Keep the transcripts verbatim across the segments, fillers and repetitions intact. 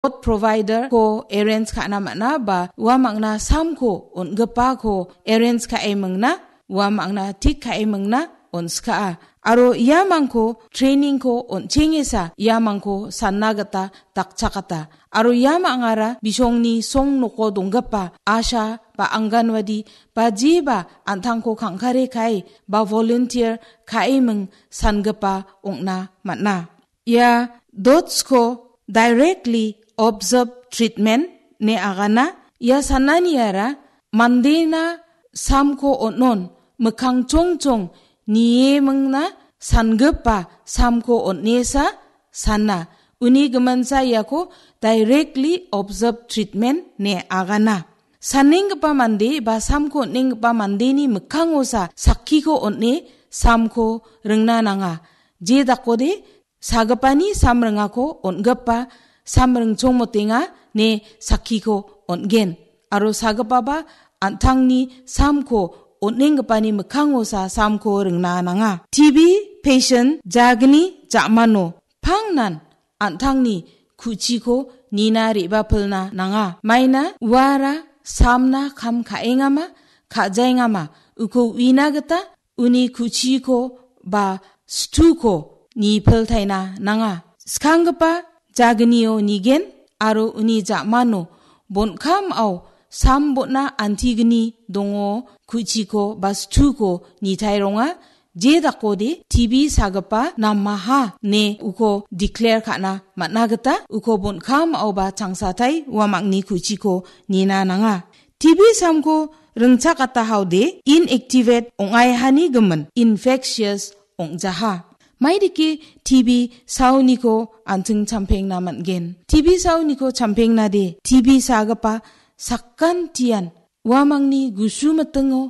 dot provider-ko arrange ka·na man·a ba uamangna samko on·gipako arrange ka·e mingna, uamangna tik ka·e mingna on·skaa. Aro iamangko training-ko on·chengesa iamangko sanna gita dakchakata. Aro iamangara bisongni song noko donggipa asha ba anganwadi ba jeba an·tangko kangkare kae ba volunteer ka·e ming sangipa ong·na man·a. Ia dots-ko directly observe treatment ine agana. Ia sananiara mandena samko on·on mikkang chongchong niemingna sangipa samko on·esa sana. Uni giminsa iako directly observe treatment ine agana. Sanenggipa mande ba samko on·enggipa mandeni mikkangosa sakkiko on·e samko ringna nanga. Je dakode sagipani sam ringako on·gipa sam ringchongmotenga ine sakkiko on·gen. Aro sagipaba an·tangni samko on·enggipani mikkangosa samko ringna nanga. T B patient jagni ja·mano pangnan an·tangni ku·chiko nina re·bapilna nanga. Maina uara samna kam ka·engama, ka·jaengama, uko uina gita uni ku·chiko ba situko nipiltaina nanga. Skanggipa jagnio nigen aro uni ja·mano bon·kamao sam bon·a antigni dongo ku·chiko ba situko nitae ronga. Je dakode T B sagipa namaha ine uko declare ka·na man·a gita uko bon·kamao ba changsatai uamangni ku·chiko nina nanga. T B samko ringchakatahaode inactivate ong·aihani gimin infectious ong·jaha. Maidike T B saoniko an·ching champengna man·gen? T B saoniko champengnade T B sagipa sakantian uamangni gusu mitingo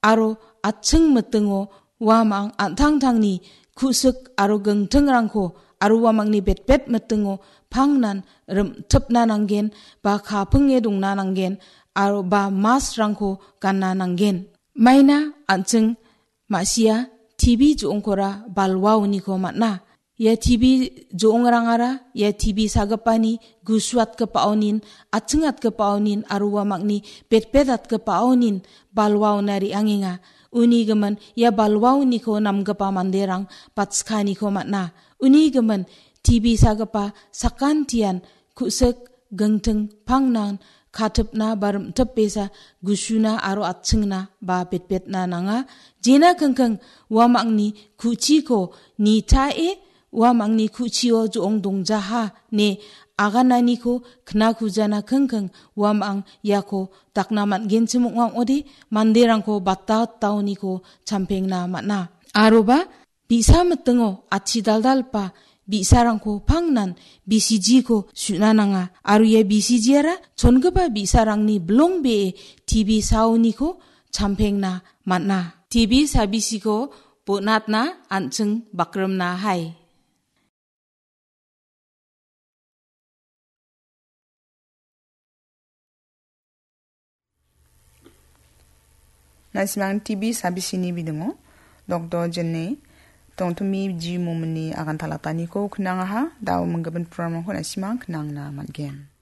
aro atching mitingo uamang an·tangtangni ku·sik aro gingtingrangko aro uamangni betbet mitingo pangnan rim·tipna nanggen ba kapinge dongna nanggen aro ba mask-rangko gana nanggen. Maina an·ching ma·sia T B jo·ongkora balwaoniko man·a. Ia T B jo·ongrangara ia T B sagipani gusuatgipaonin, atchingatgipaonin aro uamangni betbetatgipaonin balwaona re·angenga. Uni gimin ia balwaoniko namgipa manderang batskaniko man·a. Uni gimin T B sagipa sakantian ku·sik gingting pangnan katipna ba rim·tipbesa gusuna aro atchingna ba betbetna nanga. Jena kingking uamangni ku·chiko nitae uamangni ku·chio jo·ong dongjaha ine agananiko knakujana kingking uamang iako dakna man·genchim ong·a ong·ode manderangko batta taoniko champengna man·a. Aroba bi·sa mitingo atchi daldalgipa bi·sarangko pangnan B C G-ko su·na nanga. Aro ia B C G-ara chongipa bi·sarangni bilongbee T B saoniko champengna man·a. T B sabisiko bonatna an·ching bakrimna hai. Na·simang T B sabisini bidingo, Doktor Jenny Tongtumi G. Momini agan talataniko knangaha, dao minggimin programrangko na·simang knangna man·gen.